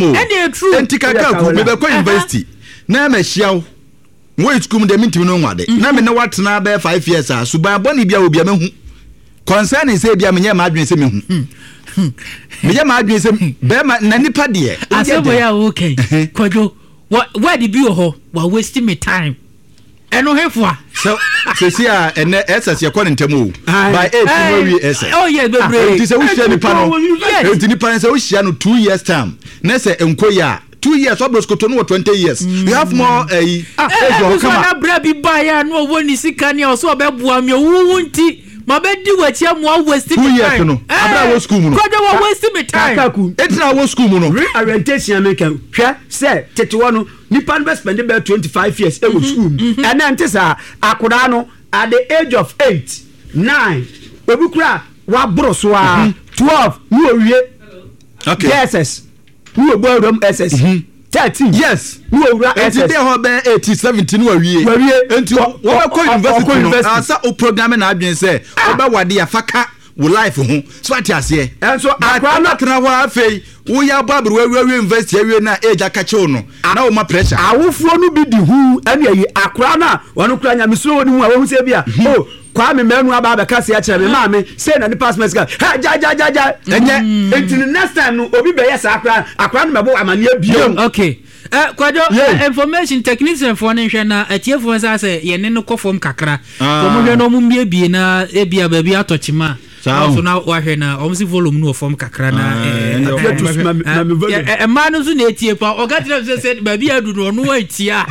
O. Ɛnna true. Enti kakaku mebɛkɔ university na mahyia wo. Wɔ sukuu mu deɛ mentumi no nwade. Na me ne woatena bɛyɛ 5 years a, suban bɔne bi a wɔ bia mahu. Concerning sɛ bia menyɛ m'adwene sɛ mehu. Meyɛ m'adwene sɛ bɛrima na nipa deɛ. Asɛm wɔ yɛ a wɔka Kwadwo, word bi wɔ hɔ wa waste me time. Ɛno hefoa? Sɛ sɛsi a ɛnɛ SS yɛkɔ ne ntɛm o. By 8 no awie SS. Oh yes, bebree. Nti sɛ wohyia nipa no, nti nipa no sɛ wohyia no 2 years time na sɛ nkɔ yi a, 2 years ɔbɛ sokoto no wɔ 20 years. You have more ɛyi. Ah, age wɔ hɔ kama. Na bra bi ba yɛ a no ɔwɔ ne sika ne a ɔsɛ ɔbɛboa me owuwu nti ma bɛ di w'akyi amu a waste me Two time. years no, abira wɔ school mu no. Kwadwo wɔ waste me time. Kakaku. Etina wɔ school mu no. Reorientation mi kan hwɛ sɛ tete hɔ no, nipa no bɛ spend bɛ 25 years ɛwɔ school mu. Ɛnɛ nte saa. Akwadaa no at the age of 8, 9, obi kura waboro so a 12 ne owie JSS ne obu awura mu SS, 13 ne owura Enti SS. bi hɔ bɛyɛ 80 70 ne wawie. Wawie. Enti wɔbɛkɔ university ɔkɔ no university. asa o program na adwene sɛ wɔbɛwade afa ka wo life ho so ate aseɛ. Ɛnso akwadaa no atena hɔ a, afei woyɛ abɔ aberewa awie awie university awie na age aka kyew no na woma pressure. Awofoɔ no bi di hu ɛne ayi akwadaa no a ɔno kura nyamesuro wɔ ne mu a wɔhu sɛ bi a, o Kwame Manu aba abɛka se akyerɛ me maame sei na nipa asoma sika hɛ gya gya gya gya. Ɛnyɛ. Nti no next time no obi bɛyɛ saa koraa, akwadaa no bɛbɔ amaneɛ bio. Okay. Kwadwo, information technician foɔ no nhwɛ na atiefoɔ nsa sɛ yɛne no kɔ fam kakra. Wɔn hwɛ na wɔn mmiebie na ebia baabi atɔ kyima. Saa o. So na wahwɛ na wɔn si volume no wɔ fam kakra na Ah, ɛnna wɔn Apia to bɛhwɛ. mami volume. Mmaa no nso na etie pa. Ɔka kyerɛ mi sɛ baabi adu no ɔno antia.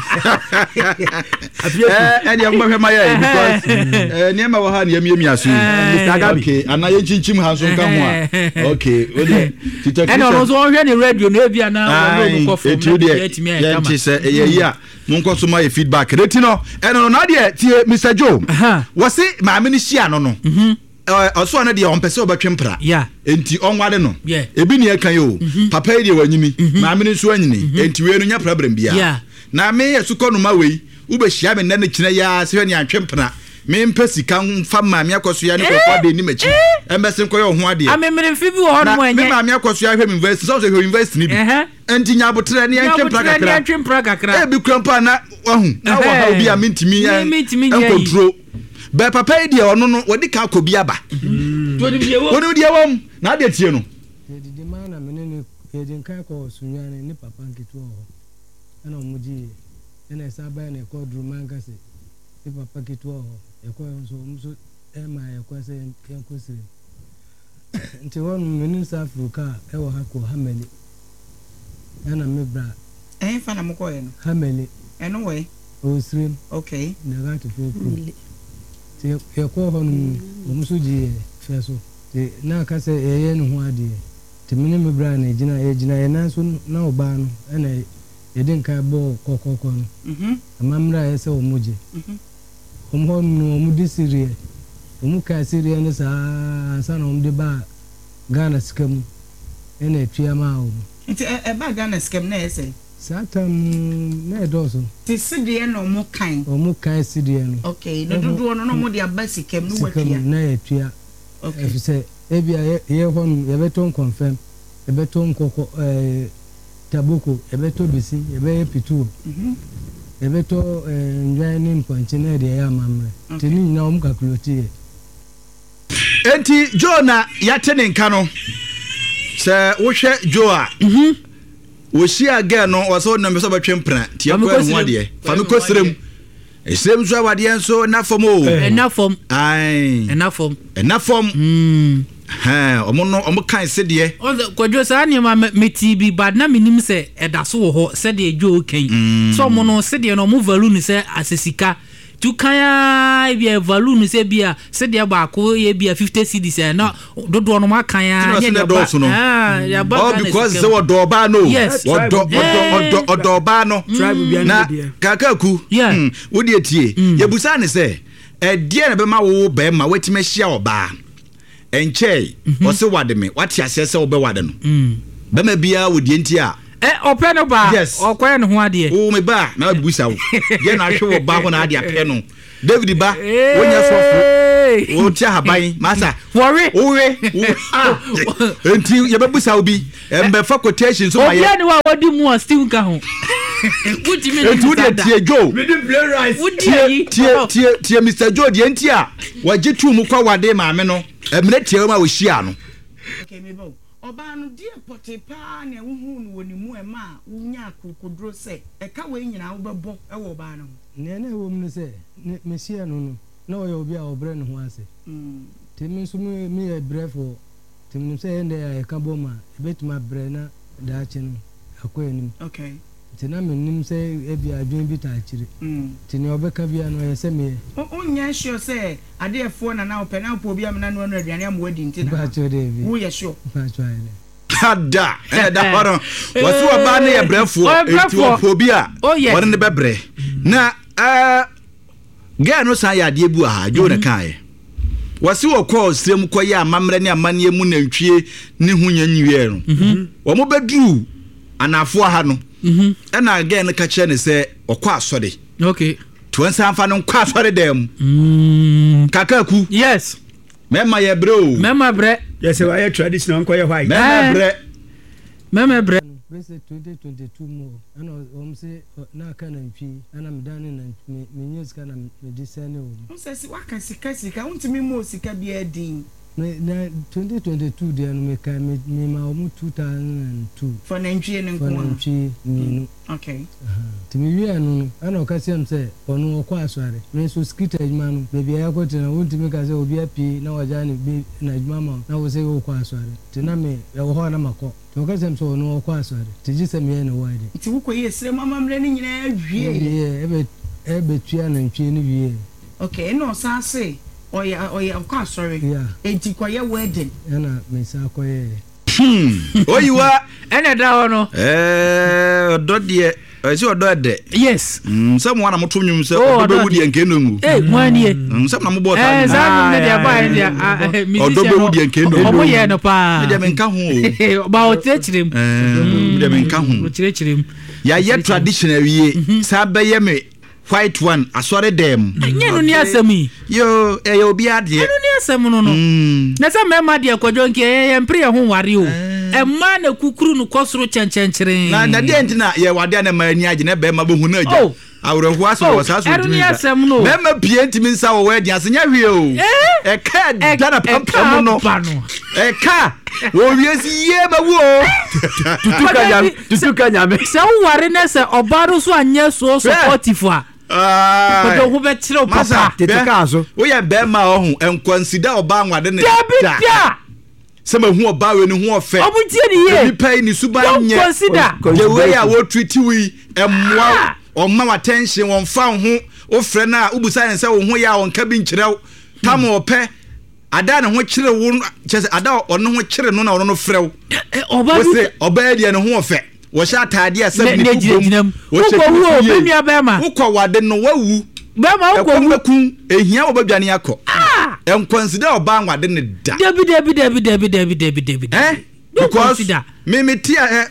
Ɛdeɛ mobɛhwɛ ma yɛ because nneɛma wɔ ha ne yɛmiamia so yi. Mr. Gabi. Okay, anaa yɛnkyinkyim ha nso nka ho a, okay, wodeɛ ti Ɛna ɔno nso ɔhwɛ ne radio no ebia na ɔno kɔ fam ɛti na deɛ atumi ayɛ kama. yɛnte sɛ ɛyɛ yi a, monkɔ so ma yɛ feedback ne ti no. Ɛno no na deɛ tie Mr Joe wɔse maame no hyia no, ɔso ɔno deɛ ɔmpɛ sɛ ɔbɛtwe mpra enti ɔnware no. Ebi ne ɛka yi o, papa yi deɛ wanyini, maame no nso anyini, enti wei no nyɛ problem biara. Na me yɛ sukɔ noma wei wobɛhyia me nnɛ ne kyerɛ yɛa sɛ hwɛ ne antwe mpena, mempɛ sika mfa maame akɔsoa ne kɔkɔ de nim akyi ɛmbɛse nkɔyɛ ɔho adeɛ. Amemeremfe bi wɔ hɔ na nom me ɛnyɛ. maame akɔsoa hwɛ me university sɛ ɔsɛ hwɛ university no bi nti nya abotrɛ ne yɛntwe mpra Nyabotrɛ ne kakra. yɛntwe mpra kakra. Ebi kura mpo a na wahu na wɔ ha obi a mentumi Mentumi nyɛ yi. nkontro bɛɛ. Papa yi deɛ, ɔno no wɔde ka akɔ bi aba. Wɔnim deɛ wɔ. Wɔnim deɛ wɔm na adeɛ tie no. Yɛdidi maa na me ne no yɛdi nkan kɔɔ Sunyani, ne papa nketewa wɔ hɔ ɛna ɔmo gye yɛ, ɛna ɛsan baeɛ na yɛkɔɔ Durumankase, ne papa ketewa wɔ hɔ. Yɛkɔɔ hɔ nso, ɔmo nso ɛmaa yɛ kwan sɛ yɛnkɔ Sirem. Nti hɔ nom me ne no san foro kaa ɛwɔ ha kɔɔ Hameli ɛna me bra. Ɛhefa na mokɔeɛ no? Hameli. Ɛno wɔ he? Ɛwɔ Sirem. Nagatofoɔ kurom. Nti yɛkɔɔ hɔ nom no, ɔmo nso gyee yɛ fɛ so. Nti na aka sɛ yɛyɛ ne ho adeɛ. Nti me ne me bra na yɛgyina, yɛgyina yɛn nan so na ɔbaa no ɛna yɛde nkan bɔɔ kɔkɔkɔ no. Amammerɛ a ɛyɛ sɛ wɔn gye. Wɔn hɔ nom no wɔn de sereɛ, wɔn kaa sereɛ no saa ara ansa na wɔn de baa Ghana sika mu ɛna ɛtua maa wɔn. Nti ɛbaa Ghana sika mu na ɛyɛ sɛn? Saa tam no na ɛdɔɔso. Nti sedeɛ na wɔn kan? Wɔn kan sedeɛ no. Okay, ne dodoɔ no na wɔn de aba sika mu na Sika wɔatua? mu na yɛtua. Efisɛ ebia yɛ yɛ hɔ nom yɛbɛtɔ nkɔnfɛm, yɛbɛtɔ nkɔkɔ ɛɛ taboko, yɛbɛtɔ besi, yɛbɛyɛ pituo, yɛbɛtɔ ɛɛ ndwan ne mpɔnkye na yɛde ayɛ amammerɛ. Nti ne nyinaa wɔn calculate yɛ. Enti Joe na yɛate ne nka no. Sɛ wohwɛ Joe a, wɔhyia girl no, ɔsɛ ɔnam sɛ ɔbɛtwe mpena nti Fa me yɛkɔɛ kɔ ne ho serem. adeɛ fa me kɔ serem. Serem nso awadeɛ nso ɛna fam o. Ɛna fam. Ae. Ɛna fam. Ɛna fam. Hɛn, ɔmo no ɔmo kan sedeɛ. Ɔsɛ Kwadwo, saa nneɛma metii bi but na menim sɛ ɛda so wɔ hɔ sɛdeɛ Joe kan sɛ ɔmo no sedeɛ no ɔmo value no sɛ asɛ sika tu kan ara, ebi a value no sɛ bi a sedeɛ baako yɛ bi a 50 cedis a na dodoɔ no mo akan ara Tina ne sɛ yɛde aba dɔɔso no. Ah, yɛde aba All Ghana because sika sɛ mu. wɔdɔ ɔbaa no o. Yes. Wɔdɔ ɔdɔ ɔdɔ ɔdɔ ɔbaa no. Tribe bia Na ne deɛ. Kakaku, wodeɛ tie. Yɛbusaa ne sɛ ɛdeɛ na bɛma wo bɛrima woatumi ahyia ɔbaa ɛnkyɛe ɔse wade me, wate aseɛ sɛ wobɛwade no. Bɛma biara wɔ deɛ nti a Ɛ ɔpɛ no baa. Ɔkɔyɛ ne ho adeɛ. Wo me ba na wabusa wo deɛ na ahwɛ wɔ ba ho na ade apɛ no. David ba, wonyɛ sɔfo. Wote ahaban masa. Wɔwe. Wowe. Ah. Nti yɛbɛbusa wo bi. Mbɛfa quotation so ma yɛ. Obiara ni hɔ a wadi mu a stew nka ho. Wotumi Nti wo deɛ tie Joe. Medi plain rice. Tie tie tie tie Mr Joe deɛ nti a wɔgye tuu mu kɔ wade maame no mmerɛ tiawa mu a wɔhyia no. Okay, me ba o. Ɔbaa no, deɛ pɔtee paa na wohuu no wɔ ne mu a ɛmaa wonyaa akokoduro sɛ ɛka wei nyinaa wobɛbɔ wɔ ɔbaa no ho? Nea na ɛwɔ mu ne sɛ, ne mehyiaa no no, na ɔyɛ obi a ɔbrɛ ne ho ase. Nti me nso me meyɛ brɛfoɔ, nti menim sɛ yɛn deɛ a yɛka bom a, yɛbɛtumi abrɛ na daakye no akɔ anim. Nti na mennim sɛ ebia adwene bi taa akyire. Nti nea ɔbɛka biara no, ɛyɛ sɛ meyɛ. Wonyɛ sure sɛ adeɛfoɔ na na wopɛ, na wopɛ obi amena noa no aduane ama wadi nti na na Mpakyɛw daabi. woyɛ sure? Mpakyɛw ayɛ dɛ. Ada ɛna ɛda hɔ no wɔsi ɔbaa no yɛ brɛfoɔ eti ɔpɛ obi a wɔne no bɛbrɛ na ɛɛ gɛɛ no san yɛ adeɛ bi wɔ ha Joe na kan yɛ wɔsi wɔkɔɔ srem kɔyɛ amammerɛ ne amanneɛ mu nantwie ne ho nyɛ nwiɛ no mhm. wɔn bɛduru anaafoɔ ha no mhm. ɛna gɛɛ no ka kyerɛ ne sɛ ɔkɔ asɔre okay tí wɔn nsa nfa no nkɔ asɔre dan mu mm. kakaku yes. Mɛma yɛ brɛ o. Mɛma brɛ. Yɛ sɛ wayɛ traditional nkɔyɛ white. Mɛma brɛ. Mɛma brɛ. Bɛsɛ 2022 mu hɔ ɛna wɔn se na aka nantwi ɛna me dane nantwi me me nya sika na me de sɛne wɔn. Wo sɛ waka sika sika wontumi mmɔɔ sika biara din. Me na 2022 deɛ no me kae me me ma wɔn 2002. For nantwie no nko ara. For nantwie mmienu. Okay. Nti me wiee ɛno no, ɛna ɔka kyerɛɛ me sɛ ɔno ɔkɔ asɔre. Me nso skita adwuma no, baabi a yɛakɔte no, wontumi nka sɛ obi apue na wagyae ne ba n'adwuma ama wo na wo se wokɔ asɔre. Nti na me, ɛwɔ hɔ a na makɔ. Nti ɔka kyerɛɛ me sɛ ɔno ɔkɔ asɔre, nti gye sɛ meyɛ ne wedding. Nti wokɔyɛɛ serɛ mu amammerɛ no nyinaa wieeɛ? Wieeɛ, ɛbɛ, ɛbɛtua nantwie no wieeɛ. Okay, ɛna ɔsan se ɔyɛ, ɔyɛ, ɔkɔ asɔre, Yeah. enti kɔyɛ wedding. Ɛna mesan kɔyɛeɛ. Hmm, oyiwa. Ɛna ɛda hɔ no. Ɛɛ ɔdɔ deɛ ɛsɛ ɔdɔ ɛdɛ. Yes. Mm, sɛ mo ana mo to nnwom sɛ oh, ɔdɔ bɛwu deɛ nkee no ngu. Ee mo anie. Mm, sɛ mo na mo bɔ taa nnwom. Ɛɛ saa nnwom no deɛ ɛbaa yɛ deɛ ah, eh, ɔdɔ bɛwu deɛ nkee no ngu. Ɔmo yɛ no paa. Mi deɛ mi nka ho o. Ba ɔkyerɛkyerɛ mu. Ɛɛ mi deɛ mi nka ho. Ɔkyerɛkyerɛ mu. Yɛayɛ tradition awie mhm. saa bɛyɛ mi White one asɔre dɛm. Ɛnyɛ no ni asɛm yi. Yoo ɛyɛ obi adeɛ. Ɛno ni asɛm no no. Mm. Na sɛ mmarima deɛ kwadwo nkeɛ yɛ yɛn mpere yɛn ho nware o. Ɛmaa na kukuru no kɔ soro kyɛnkyɛnkyerɛn. Na na deɛ nti na yɛ wade a na mmaa ani agye na bɛrima bɛhu no agya. Oh. Awerɛhoɔ asɛm wɔ saa so ntumi nsa. Ɛno ni asɛm no. Bɛrima pie ntumi nsa wɔ wɛdi ase nyɛ hwee o. Ɛka ɛda na pampam no. Ɛka wɔ wiase yie bɛwu o. Tutu ka nyame. Tutu ka nyame. Sɛ woware na sɛ ɔbaa no so anyɛ so supportive a, ɔde ho bɛkyerɛ wo papa. Tete kaa so. Woyɛ bɛrima a ɔho nkwansida ɔbaa nwade ne da. Dabi da. Sɛ mahu ɔbaa wei ne ho ɔfɛ. Ɔmo tie ne yie. Nipa yi ne suban nyɛ. Don't consider. The way a wɔtreat wo yi ɛmmoa wo. Ɔmma wo attention, ɔmfa wo ho. Wofrɛ no a wobusa ne sɛ wo ho yɛ a ɔnka bi nkyerɛ wo. Tam ɔpɛ. Ada a ne ho kyere wo no, kyerɛ sɛ ada a ɔno ho kyere no na ɔno no frɛ wo. Ɔba bi. Wose ɔbaa deɛ ne ho ɔfɛ. Wɔhyɛ ataadeɛ a sɛbi ne to bom. Wɔhyɛ Wokɔ wu o, me nua bɛrima. Wokɔ wade no, wawu. Bɛrima wokɔ wu. Ɛkɔm bɛku, ehia wɔbɛdwane akɔ. Ah! Nkwansida ɔbaa nwade ne da. Dabi dabi dabi dabi dabi dabi dabi. Eh? Because me me ti a eh,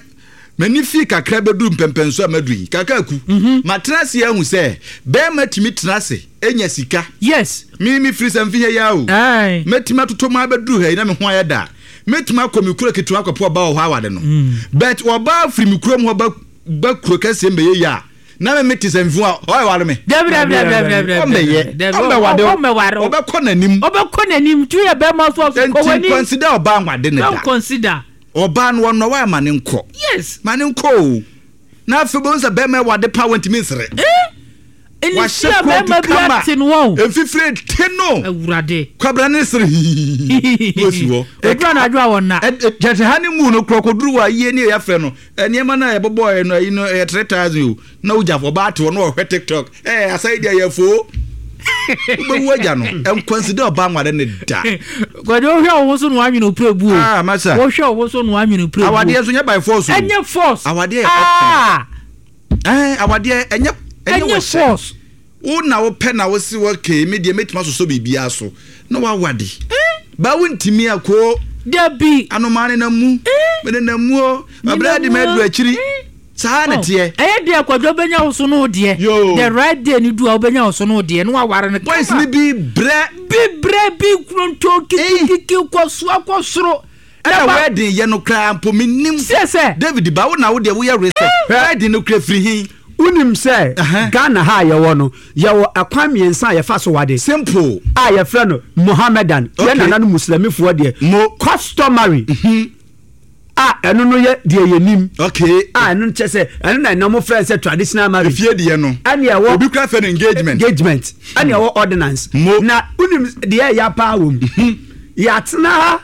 m'ani fii kakra bɛduru mpɛmpɛnso a maduru yi kakra ku mhm. matena ase ahu sɛ bɛrima tumi tena ase nya sika yes me me firi sɛ mfe ha yi o mɛtumi atotɔ mu abɛduru ha yi na me ho ayɛ da mɛtumi akɔ me kuro ketewa akɔpɔ ɔba wɔ hɔ awade no mm. but ɔbaa firi me kurom hɔ ba kuro kɛseɛ mbɛyɛ yi a na me mete sɛ mfu a ɔyɛ ware me. Dabi dabi dabi dabi dabi. Ɔmmɛyɛ ɔmmɛwade ɔmmɛware ɔbɛkɔ n'anim. Ɔbɛkɔ n'anim tu yɛ bɛrima so ɔso kɔ w'anim. Nti consider ɔbaa nwade ne da. Don't consider. Ɔbaa no ɔnɔ wa ma ne nkɔ. Yes. Ma ne nkɔ o. Na afei bɛhu sɛ bɛrima ɛwade pa wɔntumi nsere. Eh? Wahyɛ kootu kama. Mfifire te no. Awurade. Kwabena ne sere hihihihi. Na osi hɔ. Odura na adwo a wɔn na. Kyerɛ ha ne mu no korɔ kɔduru wɔ ayie ne yɛafrɛ no. Nneɛma no a yɛbobɔɔɛ no ayi no ɛyɛ 3000 o. Na wogya ɔbaa te hɔ na ɔhwɛ TikTok. Ɛɛ asa yi deɛ yɛ foo. Wobɛwu agya no. Nkwanside ɔbaa nware ne da. Kwadwo wohwɛ wo ho so na woanwene wo prɛbuo. Ah masa. Wohwɛ wo ho so na woanwene wo prɛbuo. Awadeɛ nso nyɛ by force o. Ɛnyɛ force. Awadeɛ yɛ option. Ɛɛ awadeɛ ɛnyɛ ɛnyɛ wɔhyɛ. Force. Wo na wopɛ na wose okay me deɛ mɛtumi asosɔ biribiara so na wawade. Eh? Ba wontumi akoo. Dabi. Anomaa nenam mu. Eh? Menenam mu o. Mabrɛ adi maduru akyiri. Eh? Saa na ɛteɛ. Ɛyɛ deɛ Kwadwo bɛnya wo so no wo deɛ. Yoo. The right day no du a wobɛnya wo so no wo deɛ na waware no kama. Boys no bi brɛ. Bi brɛ bi nkurontoo kikikiki kɔ soa kɔ soro. Ɛna wedding yɛ no koraa mpo mennim. Seɛ sɛ. David ba wo na wo deɛ woyɛ research. Wedding no koraa firi he? Wonim sɛ Ghana ha a yɛwɔ no, yɛwɔ ɛkwan mmiɛnsa a yɛfa so wade. Simple. A yɛfrɛ no Mohammedan, yɛn nananom Muslimifoɔ deɛ. Mo. Customary. A ɛno no yɛ deɛ yɛnim. Okay. A ɛno no kyɛ sɛ ɛno na ɛnam frɛ sɛ traditional marriage. Efie deɛ no. Ɛne ɛwɔ. Obi kura fɛ no engagement. Engagement. Ɛne ɛwɔ ordinance. Mo. Na wonim deɛ ɛya paa wɔ mu. Yɛatena ha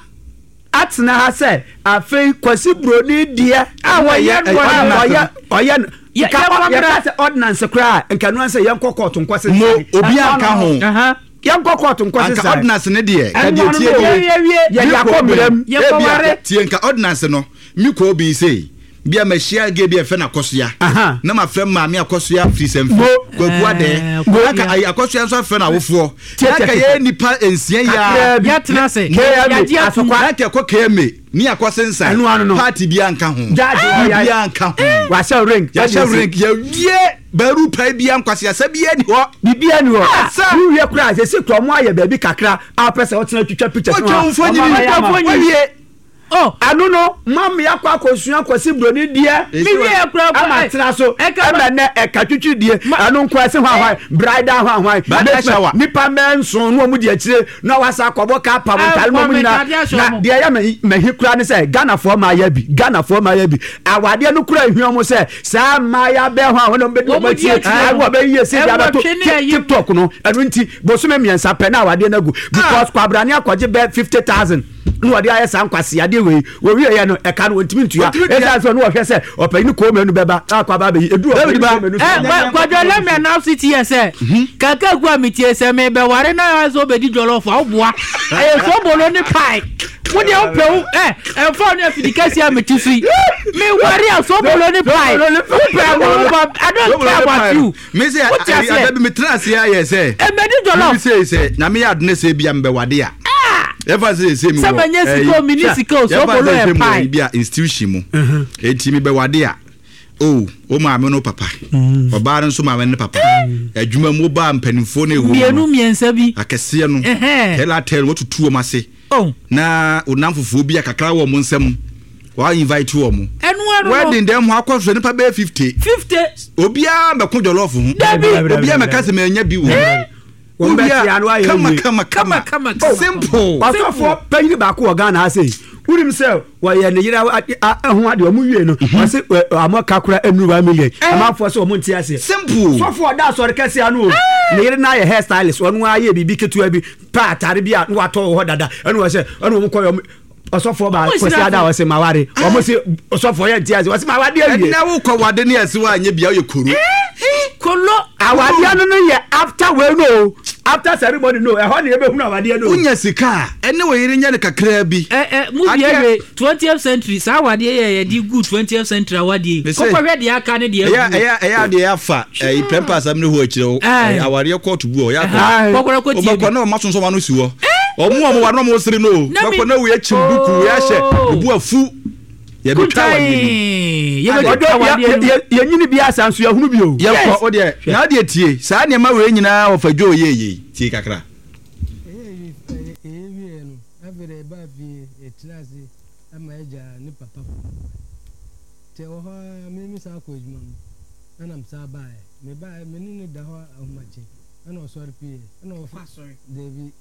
atena ha sɛ afei Kwasi Broni deɛ. A wɔyɛ no ɔyɛ ɔyɛ no. Nka yɛka sɛ ordinance koraa nka no sɛ yɛnkɔ court nkɔ sesa. Mo obi anka ho. Yɛnkɔ kɔɔto nkɔ Anka sesae. ordinance ne deɛ, ka Ɛno deɛ ano tie no, nie. Yɛwie, yɛde Me akɔ kɔ mmara mu. bi, Yɛkɔware. ebia, tie nka ordinance no, me kɔ obi sei, bia mahyia gay bi a yɛfrɛ no Akɔsoa, Aha. na mafrɛ maame Akɔsoa firi Sɛmfi, Mo. Kwaku Adɛɛ, Ɛɛ, na nka Akosua. ayi Akɔsoa nso afrɛ no awofoɔ, Tie, na tie, nka tie. yɛyɛ nnipa nsia yi ara, Kakraa bi. Yɛatena ase. KMA, Yɛagye atom. Asokwa. na nka ɛkɔ KMA, ne akɔ sensan, Ɛno ano no. party biara nka ho, Judge wɔ yɛ- biribiara nka ho. Wahyɛ ring. Yɛahyɛ ring, yɛwie baaru pae biara, nkwaseasɛm biara nni hɔ. Biribiara nni hɔ. Asa. Wowie koraa a, seesei koraa wɔayɛ baabi kakra a wopɛ sɛ wotena twitwa pictures no a, Wotwa wo mfonini, wɔn ayɛ ama wo. wawie. Oh. Ɛno no, ma me akɔ akɔsua Kwasi Broni deɛ. Me wie koraa Ama koraa. atena so. Ɛka Ɛma nnɛ ɛka twitwi die. Ɛno nko ɛse hwan hwan, bridal hwan hwan. Bridal shower. Nipa mmɛɛ nson na wɔn di akyire na wasa akɔbɔ kaa pam ntaade na wɔn nyinaa. Na deɛ ɛyɛ mahi koraa ne sɛ Ghanafoɔ mmaayɛ bi, Ghanafoɔ mmaayɛ bi. Awadeɛ no koraa ehia wɔn sɛ saa mmaayɛ bɛɛ hɔ a wɔn na wɔbɛdi wɔn akyi, ɛwɔ bɛyi yɛ si de abɛto TikTok no. Ɛno nti bosome mmiɛnsa pɛ na awadeɛ no agu because kwabrane akɔgye bɛ 50,000 na wɔde ayɛ saa nkwaseadeɛ wei. Wɔwie yɛ no ɛka no wɔntumi ntua. Ɛsiane sɛ ɔno wɔhwɛ sɛ ɔpanyin kɔɔ mmienu bɛba akɔ aba abɛyi edu ɔpanyin kɔɔ mmienu so. Kwadwo let me announce it here sɛ kakaku a metie sɛ mebɛware na ayɛ sɛ wobɛdi jollof a woboa ɛyɛ sobolo ne pie wo deɛ wopɛ wo ɛ ɛmfa wo ne afidi kɛseɛ a mete so yi meware a sobolo ne pie wopɛ wo ba I don't care about you Me sɛ Wote aseɛ? ada bi metena ase ayɛ sɛ ɛmɛdi jollof me sɛ sɛ nyame yɛ adone sɛ bia mebɛwade a yɛfa sɛ sɛ mewɔ Sɛ manya sika o, menni sika o, yɛfa sobolo sɛ yɛ sɛ mewɔ pie. bi a institution mu enti mebɛwade a o wo maame no papa ɔbaa no nso maame no papa adwuma mu wobaa mpanimfoɔ no ɛwɔ mu mmienu no mmiɛnsa bi akɛseɛ no Ɛhɛn. tɛla tɛl wɔtutu wɔn ase Oh. na wonam fufuo bi a kakra wɔ wɔn nsam wa invite wɔn ɛno ano no wedding dɛm hɔ akɔ so nipa bɛyɛ 50 50 obiara mɛko jollof ho Dabi. obiara mɛka sɛ mɛnya bi wɔ Wɔn bɛ tia no ayɛ kama wie. kama kama Kama, kama, simple Ɔsɔfoɔ panyin baako wɔ Ghana ha sei wonim sɛ wɔyɛ ne yere ho adeɛ ɔmo wie no ɔse ɔmo ka kora ɛnuru 1 million amanfoɔ sɛ ɔmo nte aseɛ simple sɔfoɔ ɔda asɔre kɛseɛ ano o ne yere no ayɛ hair stylist ɔno ayɛ biribi ketewa bi pɛ atare bi a na watɔ wɔ hɔ dada ɛna wɔ sɛ ɛna wɔn kɔ yɛ ɔsɔfoɔ baa Ɔmo kwasi hyira ada so. ɔsɛ maware ɔmo se ɔsɔfoɔ yɛ nte ase ɔsɛ maware awie ɛnna wokɔ wade ne ɛse woanyɛ bia woyɛ koro kolo awadeɛ no no yɛ after wei no o after ceremony no ɛhɔ na yɛbɛhunu awadeɛ no o. wonya sika a ɛne wo yere nyɛ no kakraa bi ɛ ɛ mu bi Adeɛ- ɛhwɛ 20th century saa awadeɛ yɛ yɛde gu 20th century awadeɛ yi Mese- kɔkɔhwɛ deɛ aka ne deɛ ɛyɛ agu ɛyɛ ɛyɛ adeɛ afa ɛyi pɛmpɛ asɛm ne hɔ akyerɛ wo Ɛɛ. ɛyɛ awareɛ kɔɔto bu hɔ yɛ akɔ Aye. kɔkɔrɔ kɔ tie wobɛkɔ bi na ɔma sonsɔn ano si hɔ ɔmo a ɔmo wa na ɔmo sere no o Na mi- bɛkɔ na wei akyim duku wei ahyɛ Oh. obu afu yɛbɛtwa awadeɛ no kuntan yɛbɛtwa Ɔdɔ awadeɛ no yɛnyini bi asa nso yɛhunu bi o. yɛkɔ wo deɛ na adeɛ tie saa nneɛma wei nyinaa wɔfa dwo yɛ yei tie kakra Ɛyɛ wieɛ no, afei deɛ yɛbaa fie, yɛtenaa ase ma agya ne papa kɔɔ kwan. Nti ɛwɔ hɔ ara, me mesan kɔɔ adwuma mu, ɛna mesan baeɛ. Mebaeɛ, me ne no da hɔ ahomakye, ɛna ɔsɔre pieeɛ. Ɛna Ɔkɔ ɔf asɔre. Dabi,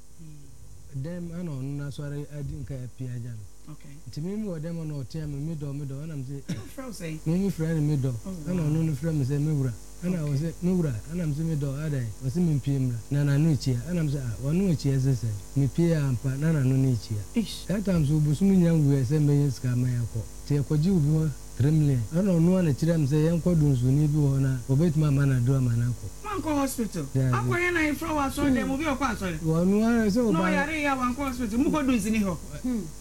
dɛm ɛna ɔno n'asɔre adi nka apue agya me. Okay. Nti me mewɔ dɛm hɔ na ɔtea me, me dɔ, me dɔ, ɛna mese, Ɔfrɛ wo sɛn? me mefrɛ no me dɔ, Oh, ɛna wow. ɔno no frɛ me sɛ me wura. Ɛna ɔse, Me wura, ɛna mese, Me dɔ, adɛn? Ɔse mempue mmra, na n'ano rekyia. Ɛna mese, Ah, w'ano rekyia sɛ sɛn? Mepuee ampa, na n'ano no rekyia. Eish. That time nso, bosom nnya nwuiɛ sɛ mɛnya sika ama yɛakɔ. Nti yɛkɔgyee obi hɔ 3 million. Ɛna ɔno ara na ɛkyerɛɛ me sɛ yɛnkɔ Donsoni bi wɔ hɔ na ɔbɛtumi ama no aduro ama no akɔ. Wankɔ hospital? Daabi. Akɔyɛ no ayefrɛ wɔ asɔre dɛm, obi a ɔkɔ asɔre? Ɔno ara sɛ Na ɔba. ɔyare yɛ a wankɔ hospital, mokɔ Donsini hɔ?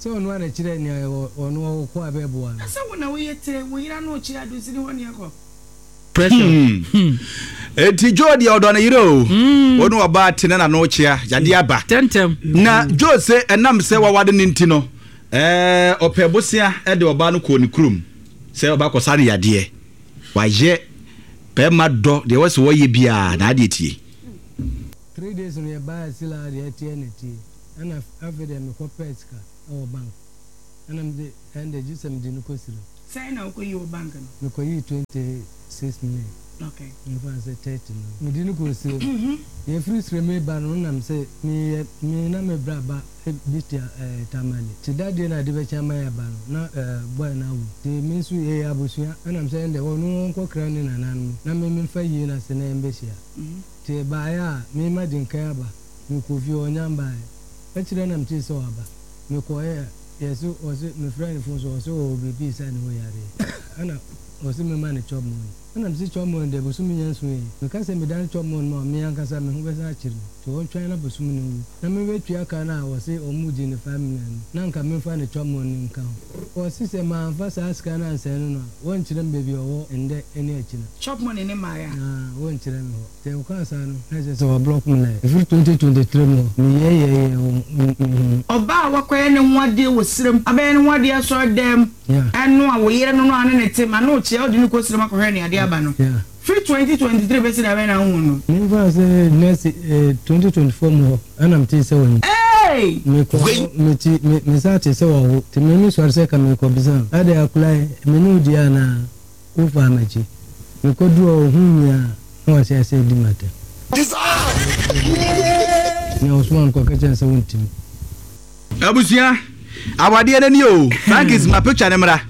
Sɛ ɔno ara na ɛkyerɛɛ nea ɔno ɔkɔ a ɛbɛboa no. Na sɛ wo na woyɛ tire, wo yere ano rekyia Donsini hɔ ne yɛkɔ? Hmm. Enti Joe deɛ ɔdɔ ne yere o. Hmm. Ɔne ɔbaa te na n'ano kyea yadeɛ aba. Tɛntɛm. Na Joe se ɛnam sɛ wawade ne nti no, ɛɛ ɔpɛ bosea de ɔbaa no kɔɔ ne kurom sɛ ɔba kɔsa ne yadeɛ. Wayɛ bɛrima dɔ deɛ ɛwɔ sɛ wɔyɛ biara na adeɛ tie. Three days no yɛbaeɛ still a deɛ ɛteɛ na ɛteɛ ɛna afei deɛ mekɔ pɛɛ sika ɛwɔ bank ɛna mede ɛnde gye sɛ mede no kɔ sirem. Sɛn na wokɔyii wɔ bank no? Mekɔyii 26 million. Okay. Memfa no sɛ 30 no. Mede no kɔɔ sirem. Yɛfiri sirem reba no nam sɛ meyɛ me na me bra ba bi te Tamale. Nti da deɛ na ade bɛkye ama yɛaba no na boy no awu. Nti me nso yɛyɛ abusua ɛnam sɛ ɛnde ɔno ɔnkɔkra ne nananom na me memfa yie no ase na yɛmbɛhyia. Nti ɛbaeɛ a me madi nkan aba. Mekɔɔ fie ɔnnya mbaeɛ. Akyire na metee sɛ waba. Mekɔeɛ a yɛse ɔse mefrɛɛ no phone so ɔse ɔwɔ biribi resa ne ho yareɛ ɛna ɔse memma no chop money. Ɛna mese chop money deɛ bosome nya nson yi meka sɛ medane chop money ma me ankasa me ho bɛsan akyere me nti ɔntwɛn na bosome no nwu na mebɛtua ka no a ɔse ɔmo gye no 5 million no na nka memfa ne chop money no nka ho. Ɔse sɛ manfa saa sika no ansɛe no no a wɔnkyerɛ me baabi a ɔwɔ ndɛ ne akyina. Chop money no mmaeɛ a. Na wɔnkyerɛ me hɔ. Sɛ ɔkaa saa no, na kyerɛ sɛ wablɔk me line. Ɛfiri 2023 mu hɔ, meyɛɛyɛɛyɛɛ wɔ me ho no. Ɔbaa a wakɔyɛ ne ho adeɛ wɔ serem, abɛyɛ ne ho adeɛ asɔredan mu, ɛno a wo yere no no a ne ne te ma no kyea wode no kɔ serem akɔhwɛ ne adeɛ aba no, firi 2023 bɛsi da bɛn na wohuu no? Memfaa sɛ next 2024 mu hɔ ɛna metee sɛ wanyini. Eei! Mekɔɔ hɔ, mete, me, mesan tee sɛ wawo, nti me mesɔre sɛ ka merekɔbisa no, adɛn akwadaa yi, me ne wo di anaa? Wofaa m'akyi. Mekoduu hɔ, ohuu me a, na wahyɛ ase redi m'atɛm. Nea ɔsomaa no kɔka kyerɛɛ no sɛ wontumi. Abusua, awadeɛ no nie o. Frankis ma picture no mmra.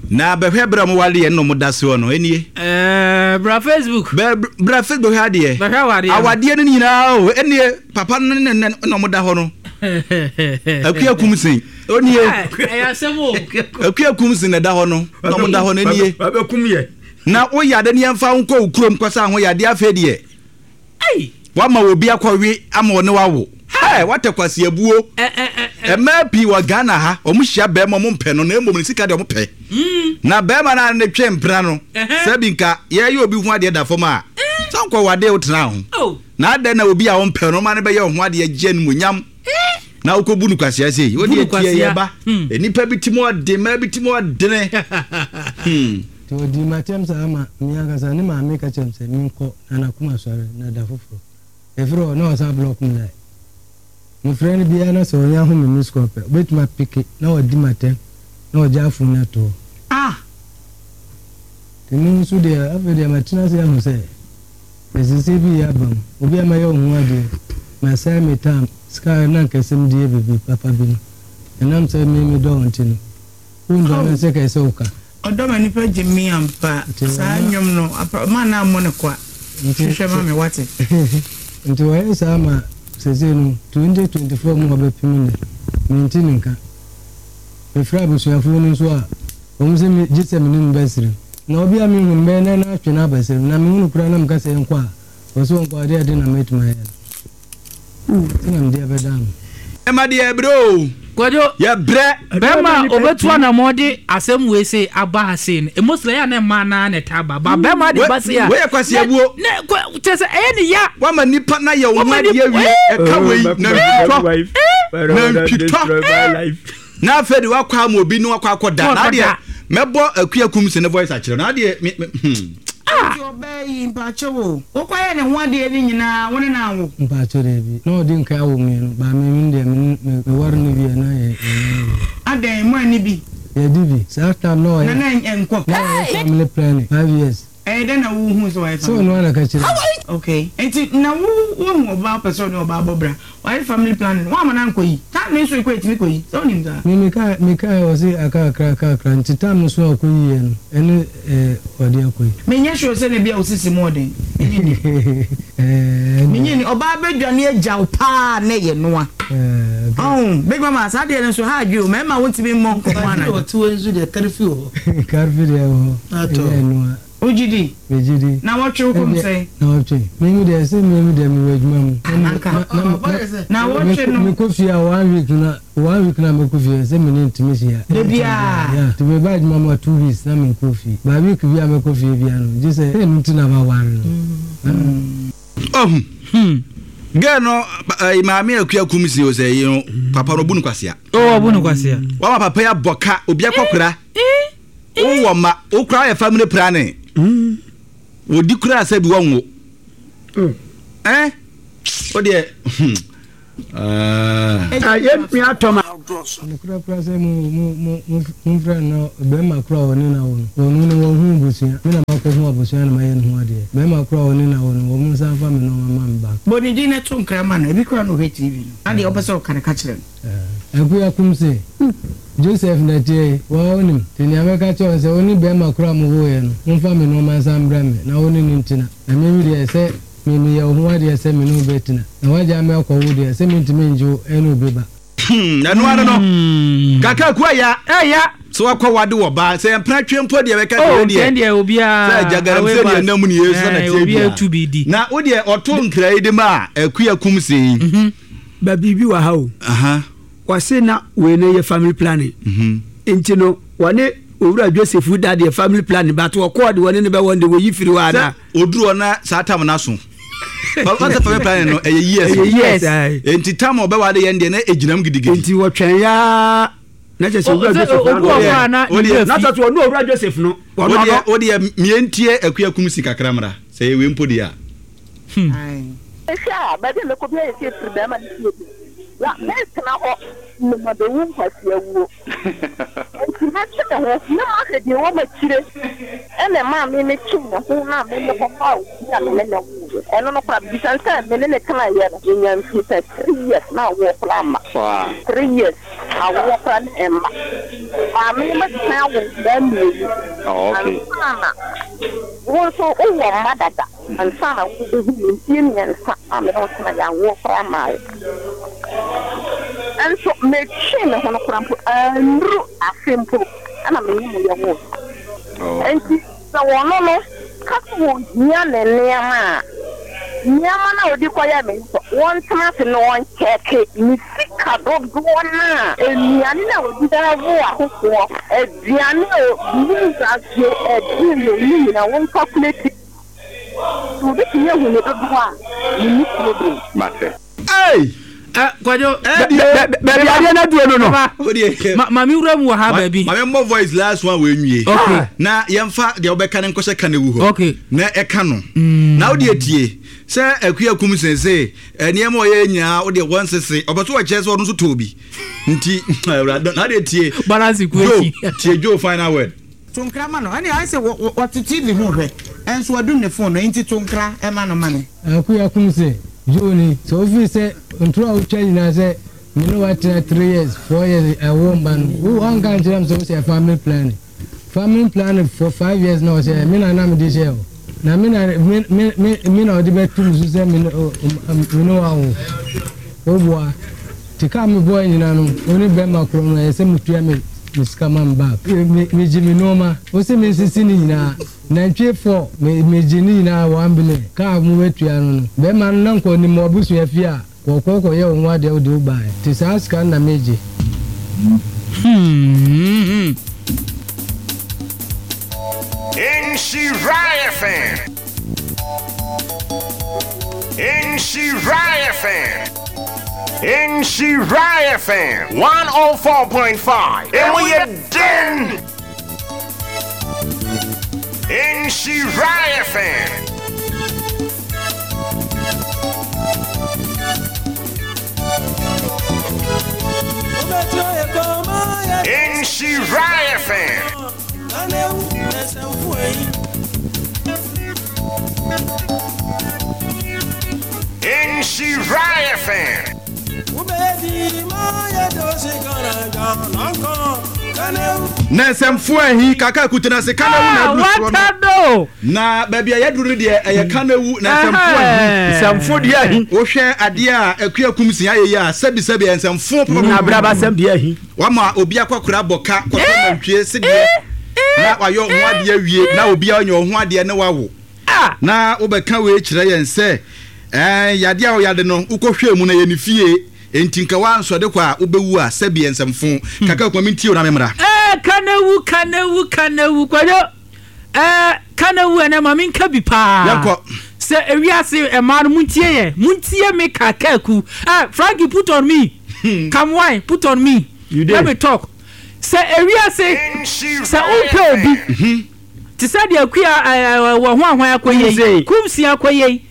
Na bɛhwɛ berɛ a wɔn wareɛ no na wɔn da soɔ no, ɛnie. Ɛɛ, bra Facebook. Bɛ, bra Facebook bɛhwɛ adeɛ. Bɛhwɛ awadeɛ no. Awadeɛ no nyinaa o, ɛnie papa no ne ne na wɔn da hɔ no. Akua Kumsin, onie. Ɛyɛ asɛm o. Akua Kumsin na ɛda hɔ no, na wɔn da hɔ no ɛnie. Wabɛkum yɛ. Na woyɛ ade ne yɛmfa wo nkɔ wo kurom kɔsa ho yadeɛ afei deɛ. Wama obi akɔwe ama ɔne wawo. Hey, what a kwasiabuo. Mmaa pii wɔ Ghana ha, wɔn hyia bɛrima wɔn mpɛ no, na mmom ne sika deɛ wɔn pɛ. Na bɛrima no a ne twe mpena no, sɛ bi nka yɛyɛ obi ho adeɛ da fam a, sɛ nkɔ wadeɛ wotena ho. Na adɛn na obi a wɔmpɛ no, ɔma no bɛyɛ ho adeɛ gye animuonyam. Na wokɔbu no kwasea sei. Wo deɛ tie yɛ ba. Nnipa bi ti mu ɔden, mmaa bi ti mu ɔdene. Nti ɔdii m'atɛm saa ma me ankasa ne maame ka kyerɛɛ me sɛ menkɔ na n'akoma sɔre na da foforɔ ɛfiri hɔ na ɔsan block me line. Mefrɛ no biara na sɛ ɔnya hu me miss call pɛ ɔbɛtumi apeke na wadi m'atɛm na ɔgyaa phone no ato hɔ. Ah! Nti me nso deɛ afei deɛ matena ase ahu sɛ Nsesɛe bi reyɛ aba mu. Obi a mɛyɛ wo ho adeɛ, masɛe me tam, sika a na anka ɛsɛ mede yɛ biribi papa bi no, ɛnam sɛ me medɔ wo nti no, wondɔ me sɛ ɛsɛ wo ka. Ɔdɔ ma nipa gye me ampa. Saa nnwom no, ma na mmɔ no kwa. Hwehwɛ ma me, wate? Nti wɔyɛ saa ma seesei no, 2024 mu hɔ bɛpem nnɛ, mente ne nka. Mefrɛ abusuafoɔ no nso a, wɔn se me, gye sɛ me ne no bɛsere. Na obi a menhu no, mɛyɛ dɛn na atwe no abɛsere me? Na mehu no koraa na meka sɛ yɛnkɔ a, ɔse ɔnkɔ a, ɛdeɛn de na mɛtumi ayɛ no? Nti na mede abɛdaa no. Ɛma deɛ yɛbrɛ o. Kwadwo, Yɛbrɛ. bɛrima a ɔbɛtu anamɔn de asɛm wei sei aba ha sei no, mostly ɛyɛ a na mmaa no ara na ɛtaa ba. Ba bɛrima de ba sei a, Wei yɛ kwasiabuo. ne, ne, kwa, kyerɛ sɛ ɛyɛ ne ya. Wama nipa na yɛ wo ho Wama adeɛ nip- awie. Ɛka wei, nantwitɔ. Nantwitɔ. Na afei de wakɔ ama obi ne wakɔ akɔ da. Na adeɛ mɛbɔ Akua Kumsi ne voice akyerɛ no. Adeɛ me me hmm. Nti ɔbaa yi mpakyɛw o, wokɔyɛɛ ne ho adeɛ no nyinaa wo ne no anwo? Mpakyɛw daabi, na ɔdi nkan awo mienu, but me me deɛ me ne me ware no wieɛ na yɛ yɛnyɛ no hwee. Adɛn, mo anni bi? Yɛdi bi, saa time na ɔyɛ Na na ɛnkɔ? na ɔyɛ family planning 5 years. Ɛyɛ dɛn na wo huu sɛ wayɛ Sɛ ɔno ara na ɛka kyerɛɛ me. Okay, nti na wo woahu ɔbaa wopɛ sɛ ɔne ɔbaa bɔ bra, wayɛ family planning, woamma no ankɔ yi, time no nso ekɔ etumi kɔ yi, sɛ wonim saa? Me mekae mekae ɔse aka kakra aka kakra nti time no so a ɔkɔ yiiɛ no ɛne ɛɛ ɔde akɔ yi. Menyɛ sure sɛ na ebia wo sisi mu ɔden, menye nni. Ɛɛ ɛndeɛ. Menye nni, ɔbaa bɛdwane agya wo paa na ɛyɛ noa. Ɛɛ okay. Ɔho, Big Mama, saa deɛ no nso ha adwe o, mmarima wontumi mmɔ nkɔmmɔ anadwo. Ɔte wei nso deɛ karfi wɔ hɔ. Karfi deɛ wɔ hɔ. Atɔ. Ɛnyɛ ɛnoa. Wogye di? Megye di. Nawɔtwe wo kɔm sɛn? Nawɔtwe. Me me deɛ sɛ me me deɛ mewɔ adwuma mu. Anka. Nawɔtwe no. Mekɔ fie a one week na one week na mekɔ fie sɛ me ne ntumi hyia. Da biara. Yeah. Nti meba adwuma mu a 2 weeks na menkɔ fie. Ba week bi a mɛkɔ fie bia no gye sɛ ɛno nti na maware no. Ɔhu. Girl no ɛyi maame Akua Kumsi o sɛ yi no papa no obu no kwasea. Oh, ɔbu no kwasea. Wama papa yi abɔ ka obi akɔkora. Wowɔ ma wokora yɛ family planning. Wɔdi koraa sɛ bi wɔnwo. Ɛn wo deɛ hmm. Ah. Yɛn nua tɔ ma. Nokorɛ koraa sɛ mo mo mo mo momfrɛ no na bɛrima korɔ a ɔne no awo no, ɔno no wanhu abusua, me na makɔhu abusua na mayɛ ne ho adeɛ. Bɛrima korɔ a ɔne no awo no, wɔn nsan mfa me nnoɔma mma me back. Bɔ ne din na to nkra ma no, ebi koraa na ɔhwɛ TV no, na deɛ wopɛ sɛ ɔka no ka kyerɛ no. Akua kum se, Joseph na ɛteɛ yi, wo ara wonim, nti nea mɛka kyerɛ wo ne sɛ, wo ne bɛrima korɔ a mowoeɛ no, momfa me nnoɔma nsan mbrɛ me, na wo ne no ntena. Na me me deɛ, sɛ me meyɛ wo ho adeɛ sɛ me ne wo bɛtena, na woagyaa me akɔ wo deɛ, sɛ mentumi ngye wo ne obi ba. Hmm, ɛno ara no. Kaka aku aya. Ɛya. Sɛ wakɔ wade wɔ ba, sɛ yɛn mpena twe mpo deɛ bɛka Oh, sɛ deɛ. nkyɛn deɛ obiara. Sɛ gyagaram sɛ deɛ nam ni yesu na tie Obiara tu bi di. Na wo deɛ ɔto nkra yi de ma a akua kum se yi. Ba biribi wɔ ha o. Wɔse na wei no yɛ family planning. Nti no wɔne owura Joseph da deɛ family planning but wɔkɔɔ de wɔne no bɛwɔ no de wɔyi firi hɔ anaa? Sɛ oduru hɔ na saa tam no aso. Wɔn sɛ family planning no ɛyɛ years. Ɛyɛ years ayi. Nti tam a ɔbɛware yɛn deɛ na egyina mu gidigidi. Nti wɔtwɛn yaa na kyerɛ sɛ owura Joseph na obu ɔkɔ a na ne werɛ na kyerɛ sɛ ɔne owura Joseph no wɔn ɔno. Wodeɛ mientie Akua Kumsi kakra mmra sɛ ɛyɛ wei mpo deɛ a. Mehwɛ a, baabi a mɛkɔ biara yɛ sɛ firi barima no fie bi. Na mentena hɔ na mabɛwu nkwasea wuo. Enti mɛtwe me ho na mahwɛ deɛ ɛwɔ m'akyire. Ɛnna ɛmaa me metwee me ho na me mekɔfaa obi a me ne no woeɛ. Ɛno no koraa, mebisa no sɛ me ne no tenaeɛ no, yɛnyaa mfie sɛ three years na awoɔ koraa amma. Three years, awoɔ koraa na ɛmma. Maame no madi kan awo nkwadaa mmienu ansa na wo nso wowɔ mma dada. Ansa na worebehu me mfeɛ mmiɛnsa a me ne wo tenaeɛ, awoɔ koraa mmaeɛ. Nso metwee me ho no koraa mpo, annuru afe mpo na me ne mo yɛwoeɛ. Enti sɛ ɔno no ka sɛ ɔhia ne nneɛma a, nneɛma no a ɔde kɔyɛɛ me no, wɔntena ase na wɔnkyɛɛke ne sika dodoɔ no a nnuane no a ɔdi wo akokoɔ, aduane a ɔdi, ɛdene no ne nyinaa wɔnkakuleti. So wobetumi ahu ne dodow a minni problem? Mate. Ei! Eh, Kwadwo. Eh, deɛ. Baabi adeɛ no aduro no no. Ma ma me wura mu wɔ ha baabi. Ma me mmɔ voice last one wɔ nwie. Okay. Na yɛmfa deɛ wobɛka no nkɔhyɛ ka no wu hɔ. Okay. Na ɛka no. Mm. Na wodeɛ tie sɛ akua kum sese nneɛma ɔyɛ nyinaa wodeɛ wɔnsese ɔpɛ so wɔkyerɛ sɛ ɔno nso tɔɔ bi nti awurade na wodeɛ tie. Balance Joe tie Joe final word. To nkra ma no. Ɛnneɛ ayɛ sɛ ɔte TV ho rehwɛ, nso wadum ne phone no, enti to nkra ma no ma me. Akua Kumse, Joe ni, sɛ wofiri sɛ ntoro a wotwa nyinaa sɛ me ne wo atena three years, four years ɛwo mba no, wo wanka ankyerɛ me sɛ wohyɛ family planning. Family planning for five years na ɔhyɛ me na na mede hyɛ o. Na me na me me me me na ɔde bɛto me so sɛ me ne me ne wo awo. Woboa. Te kaa me bɔɔe nyinaa no, wo ne bɛɛma korɔ no ɛyɛ sɛ mo tua me me sika ma me back. Me me gye me nnoɔma, wo se me nsisi ne nyinaa, nantwie four me me gye ne nyinaa one billion, kaa mo bɛ tua no no, bɛɛma no na nka ɔnim mo abusua fie a, kɔɔkɔɔ kɔ yɛ wo ho adeɛ wo de wo baaɛ, te saa sika no na me gye. Hmm. Nhyira FM. Nhyira FM. Nhyira FM 104.5. Emu yɛ den. Nhyira FM. Nhyira FM. Nhyira FM. Na nsɛmfo ahi kaka akutena ase ka na wu na aduru soɔ no. Na baabi a yɛaduru no deɛ ɛyɛ ka na wu na nsɛmfo ahi. Nsɛmfo deɛ ahi. Wohwɛ adeɛ a akua kum si ayɛ yi a sɛbisɛbi ɛyɛ nsɛmfo papa. Abrabasɛm deɛ ahi. Wama obi akɔkora bɔ ka kɔtɔ nantwie sedeɛ na wayɛ ɔho adeɛ awie na obi anya ɔho adeɛ ne wawo na wobɛka wei kyerɛ yɛn sɛ ɛɛ yadeɛ a ɔyade no wokɔhwɛ mu na yɛ ne fie enti nka wansɔde kɔ a wobɛwu a sɛbi nsɛmfo kaka kuma mentie wo na memmra. Ɛɛ ka na wu ka na wu ka na wu kwadwo ɛɛ ka na wu ɛnɛ ma menka bi paa. Yɛnkɔ. Sɛ ewiase ɛmaa no montie yɛ montie me kakaku ɛɛ Frankie put on me. Come wine put on me let me talk sɛ ewiase sɛ wompɛ obi mhm. Te sɛ deɛ Akua ɛɛ wɔ ho ahwan akɔyɛ yi, Kumsi akɔyɛ yi.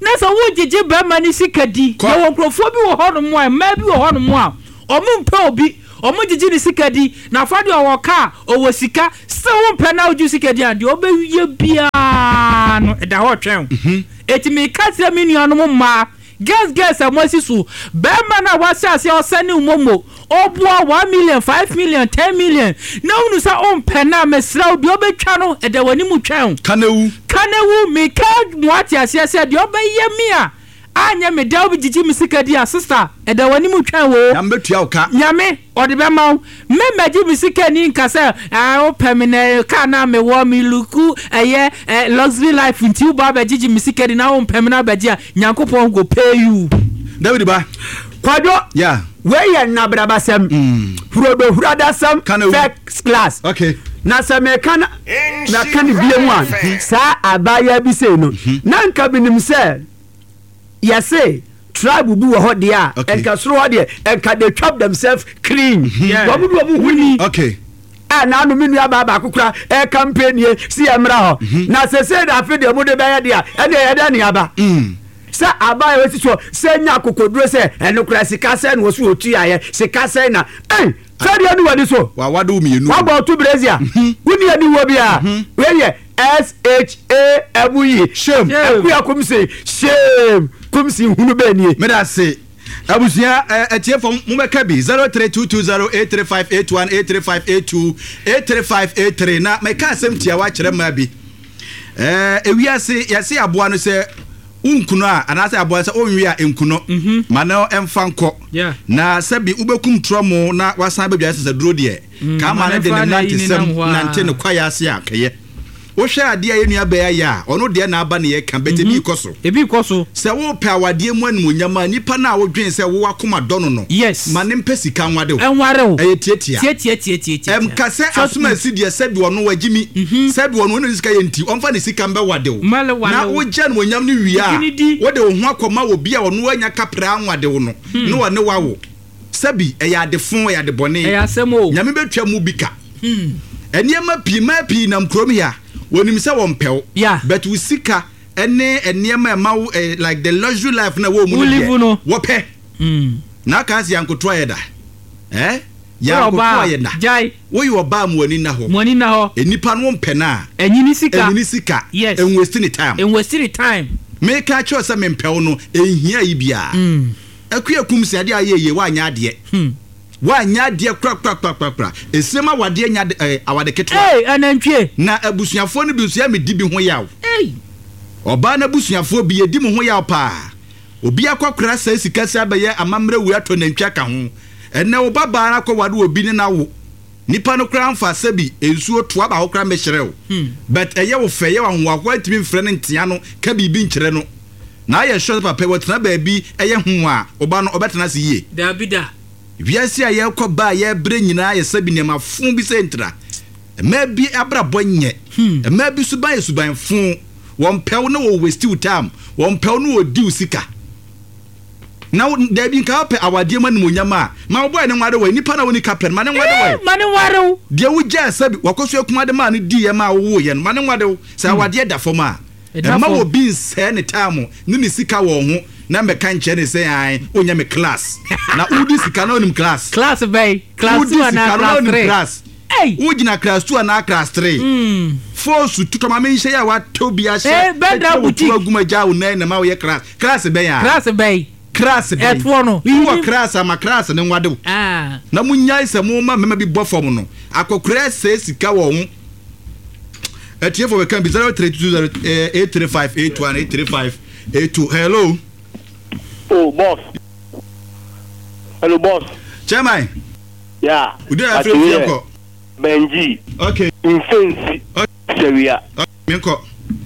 Na sɛ wogyegye barima no sika di, yɛwɔ nkurɔfoɔ bi wɔ hɔnom a, mmaa bi wɔ hɔnom a, wɔmpɛ obi, wɔgyegye ne sika di, na afa deɛ ɔwɔ kaa, ɔwɔ sika, still wompɛ no a wogye sika di a, deɛ ɔbɛyɛ biara no, ɛda hɔ retwɛn wo. Enti meka kyerɛ me nuanom mmaa, Girls girls a moasi so, barima no a wahyɛ aseɛ ɔsɛne wo momo, ɔboa 1 million, 5 million, 10 million, na wonu sɛ wompɛ no a, mesrɛ wo, deɛ ɔbɛtwa no, ɛda w'anim twɛn wo. Ka na wu. Ka na wu. Meka mo ate aseɛ sɛ, deɛ ɔbɛyɛ me a, anyɛ me dɛ, wobɛgyegye me sika di a, sister, ɛda w'anim twɛn wo. Nyame bɛtua wo ka. Nyame, ɔde bɛma wo. Me mmɛgye me sika ni nka sɛ, ah, wopɛ me na car no a mewɔ, me look ɛyɛ eh, luxury life nti woba abɛgyegye me sika di na wompɛ me na abɛgye a, Nyankopɔn go pay you. David ba. Kwadwo, Yeah. wei yɛ nnabrabasɛm, hurodohuradasɛm, Ka na wu. first class. Okay. Na sɛ meka na maka no bio mu a, saa abaayewa bi sei no, na nka menim sɛ yɛse tribe bi wɔ hɔ deɛ a, nka soro hɔ deɛ, nka they chop themselves clean. Wɔn de wɔn ho ni. Okay. A n'ano me nua baa baako kora ɛka nie si yɛ mmra hɔ. Na sese na afe deɛ mo de bɛyɛ deɛ a, ɛne ɛyɛ dɛ ne aba. Sɛ aba a ɛsi soɔ sɛ nya akokoduro sɛ ɛno kora sika sɛn na wɔso wɔtuaeɛ, sika sɛn na ei sɛ deɛ ne w'ani so. Wawade wo mmienu. Wabɔ ɔto brezia. Wonni aniwuo biara. Wei yɛ S-H-A-M-E. Shame. Akuya Kumsi. Shame. Kumsi hunu bɛɛ nie. Meda ase. Abusua atiefo mobɛka bi 03220 83581 83582 83583 na mɛka asɛm tiawa akyerɛ mmaa bi. Ewiase yɛse aboa no sɛ wonkunu a anaasɛ aboa no sɛ wonwe a nkuno mhm. ma no ɛmfa nkɔ na sɛbi wobɛkum torɔmo na wasan bɛdwa sɛsɛduro deɛ mm, kaa ma no de ne nantesɛm nante ne kwaeɛ ase a kɛyɛ. Wohwɛ adeɛ a yɛn nua bɛɛ ayɛ a, ɔno deɛ na aba ne yɛka, but ebi rekɔ so. Ebi rekɔ so. Sɛ wopɛ awadeɛ mu animuonyam a, nipa no a wodwen sɛ wo akoma dɔ no no, Yes. ma no mpɛ sika nwade wo. Nware wo. Ɛyɛ tiatia. Tiatia tiatia tiatia. Ɛmka sɛ Short asomasi deɛ sɛbi ɔno wagyimi, sɛbi ɔno ɔne ne sika yɛ nti, ɔmfa ne sika mbɛwade wo. Mmɛle wale Na wo. wogye animuonyam no wie a, Gye no di. wode wo ho akɔma obi a ɔno anya kaprɛ anwade wo no, na ɔne wo awo. Sɛbi, ɛyɛ ade fo, ɛyɛ ade bɔne. Ɛyɛ asɛm o. Nyame bɛtwa mu bi ka. Nneɛma pii, mmaa pii nam kurom ha, wɔnim sɛ wɔmpɛ wo. Yeah. But wo sika ne nneɛma a ɛma wo eh, like the luxury life na ɛwɔ mu Wo no live deɛ, no. wɔpɛ. Na aka ase yɛankoto ayɛ da. Eh? Woyɛ Yɛankoto ɔbaa a, ayɛ da. gyae. Woyɛ ɔbaa a ma w'ani nna hɔ. Ma w'ani nna hɔ. Nnipa no wompɛ no a, Ɛnyi ne sika. ɛnyi ne sika. Yes. Ɛnwaste ne time. Ɛnwaste ne time. Meka akyerɛ wo sɛ mempɛ wo no, ɛnhia yi biara. Akua kum sɛ adeɛ a ayɛ yie woanyɛ adeɛ woanyɛ adeɛ korakorakorakora esiem awadeɛ nya de eh, awade ketewa. Ei anantwie. Na abusuafoɔ no bi nso yɛ medi bi ho yaw. Ei. Ɔbaa no abusuafoɔ bi yɛdi mo ho yaw paa. Obi akɔkora sɛe sika sɛ abɛyɛ amammerɛ wei atɔ nantwi aka ho. Ɛnnɛ wo ba baa no akɔware obi ne no awo. Nipa no koraa mfa sɛbi nsuo toa baako koraa mmɛhyerɛ wo. But ɛyɛ wo fɛ, ɛyɛ wo ahohoahoa ntumi mfrɛ no ntea no ka biribi nkyerɛ no. Na ayɛ sure sɛ papa yi ɔtena baabi ɛyɛ ho a, wo ba no ɔbɛtena ase yie. Daabi da. Wiase a yɛrekɔ ba a yɛrebrɛ nyinaa yɛ sɛbi nneɛma fo bi sɛ ntira. Mmaa bi abrabɔ nyɛ. Mmaa bi suban yɛ suban fo. Wɔmpɛ wo na wɔ waste wo time. Wɔmpɛ wo na wɔdi wo sika. Na wo, daabi, nka wopɛ awadeɛ mu animuonyam a, ma wo boy no nware wo. Nipa no a ɔnni kapɛ no, ma no nware wo. Ee, ma no nware wo. Deɛ wogyaa sɛ wakɔsua akumaa de maa no diiɛ maa wowoeɛ no, ma no nware wo. Sɛ awadeɛ da fam a, Ɛda mma fam. obi nsɛe ne time ne ne sika wɔ wo ho na mmɛka nkyerɛ no sɛ ae, wonyɛ me class. Na wodi sika na wonim class. Class bɛn? Class Wodi two sika anaa no na class wonim three? class. Ei! Wogyina class two anaa class three? Foosu tutɔ ma menhyɛ yi a woatɔ bi ahyɛ Eh, Bɛdra atwa wo to boutique. agu mu agya wo nan na ma woyɛ class. Class bɛn a? Class bɛn? Class bɛn? Ɛtoɔ no. Wowɔ class a ma class no nwade wo. Ah. Na monyae sɛ moma mmarima bi bɔ fam no. Akɔkora sɛe sika wɔ ho. Atiefo bɛka bi 0320 835 81 835 82. Hello. Oh, boss. Hello, boss. Chairman. Yeah. Ude afre fie nkɔ. Benji. Okay. Mfensi. Okay. Sɛwia. Okay, menkɔ.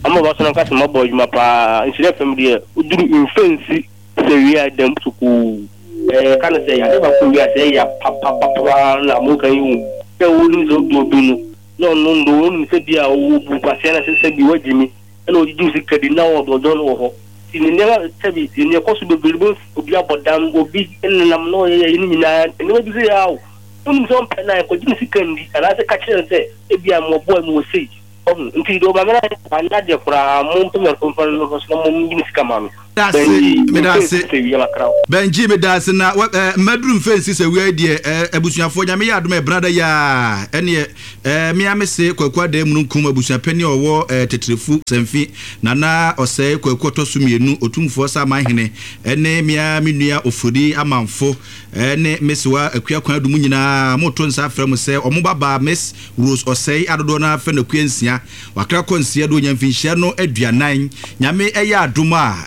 Ama ba so na nkasa mabɔ adwuma paa. Nhyira fam deɛ woduru mfensi sɛwia dɛm sukuu. Ɛɛ ka no sɛ ade baako wiase ɛyɛ papapapa na mo kan yi hu. Sɛ wonim sɛ wodɔ obi no na ɔno ndo wonim sɛ bi a ɔwɔ bu kwasea na sɛ sɛ bi wagyimi ɛna ɔgyegye wo sika di na ɔdɔ ɔdɔ no wɔ hɔ. Nti ne nneɛma sɛbi nea ɛkɔ so bebree bo obi abɔ dam obi nenam na ɔyɛ yɛ ne nyinaa nneɛma bi sɛ yɛ awo. Wonim sɛ ɔmpɛ no a nkɔgye ne sika ndi anaasɛ ka kyerɛ no sɛ ebia mewɔ boy mewɔ sei. Wahu? Nti deɛ ɔmaame no ayɛ no, anyɛ adeɛ koraa. Mompɛ me mfa no mfa so na monyi me sika ma me. Medase, Benji, medase. mfɛnsi sɛ wia makra wo. Benji, medase na wɛ eh, maduru mfɛnsi sɛ wia yi deɛ eh, abusuafoɔ Nyame yɛ adom a ɛbena da yi ara ɛneɛ eh, me ara mese Kwaku Adaa Mununkum abusuapanin a ɔwɔ eh, Tetrefu Samfi Nana Ɔsɛe Kwaku ɔtɔ so mmienu Otumfoɔ Saman Hene ɛne me ara me nua Ofori Amanfo ɛne Mesewa Akua Kwan Adu mo nyinaa moto nsa afrɛ mo sɛ ɔmo babaa Miss Rose Ɔsɛe a dodoɔ no ara frɛ no Akua Nsia Wakra kɔ nsia do onya mfinhyia no 40. Nyame yɛ adom a,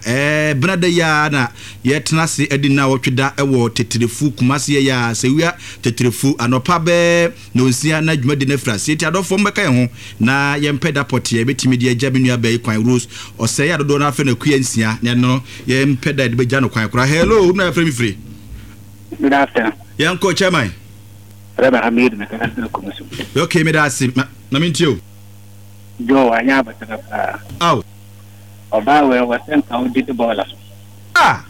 Benada yi ara na yɛtena ase adi nnawɔtwe da wɔ Teterefu, Kumasi yɛyɛ a, Sewia Teterefu, anɔpa bɛɛ nnɔnsia na dwumadi no afiri aseɛ. Nti adɔfoɔ mommɛka yɛn ho na yɛmpɛ da pɔtee a yɛbɛtumi de agya me nua baa yi kwan, Rose Ɔsɛe a dodoɔ no ara frɛ no Akua Nsia, na ɛno no yɛmpɛ da a yɛde bɛgya no kwan koraa. Hello, who na yɛfrɛ me firi? Good afternoon. Yɛnkɔ, Chairman. Reverend Hamid mekasa firi Kumasu. Okay, meda ase. Ma mentie o. Joe wanyɛ abotire koraa. Ao. Ɔbaa wei ɔwɔ sɛ nka ɔdidi bɔɔla so. Ah!